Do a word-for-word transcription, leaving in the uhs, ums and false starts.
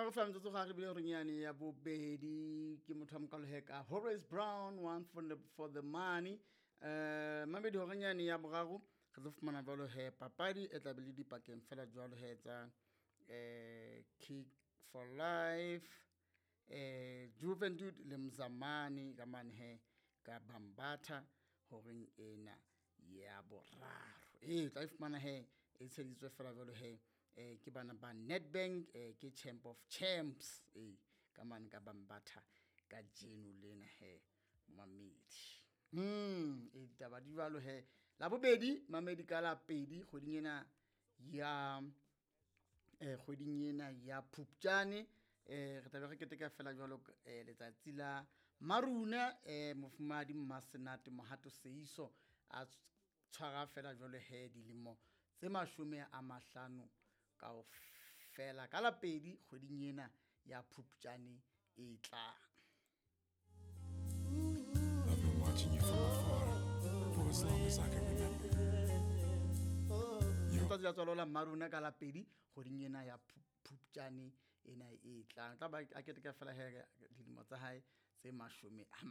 meraro fela metsotso ga re bile horeng yane ya bobedi. Ke motho wa mokalo he ka Horace Brown, One for the, for the Money. um mamedi horeng yane ya boraro re tlo fumana jwalo he papadi e tla be le dipakeng fela jwalo he tsa um Kick for Life, eh Juventud le Mzamani ka mane he ka Bambatha horeng ena ya boraro. Ee, tla e fumana he e tsheditswe fela jwalo he eh ke bana ba Nedbank, eh ke Champ of Champs, ee, ka mane ka Bambatha ka jeno lena he, mamedi. mm e ditaba di jwalo he. La bobedi, mamedi, ka la pedi kgweding ena ya eh kgweding ena ya Phupjane, eh re tlabe re keteka fela jwalo eh letsatsi la Maruna, eh mofumahadi Mmasenate Mohato Seiso a tshwara fela jwalo he dilemo tse mashome a mahlano kaofela ka la pedi kgweding ena ya Phupjane e tlang. I've been watching you from afar for as long as I can remember. Letsatsi la tswalo la Mmarona ka la pedi kgweding ena ya Phupjane ena e tlang, tla ba a keteka fela he dilemo tsa hae tse mashome a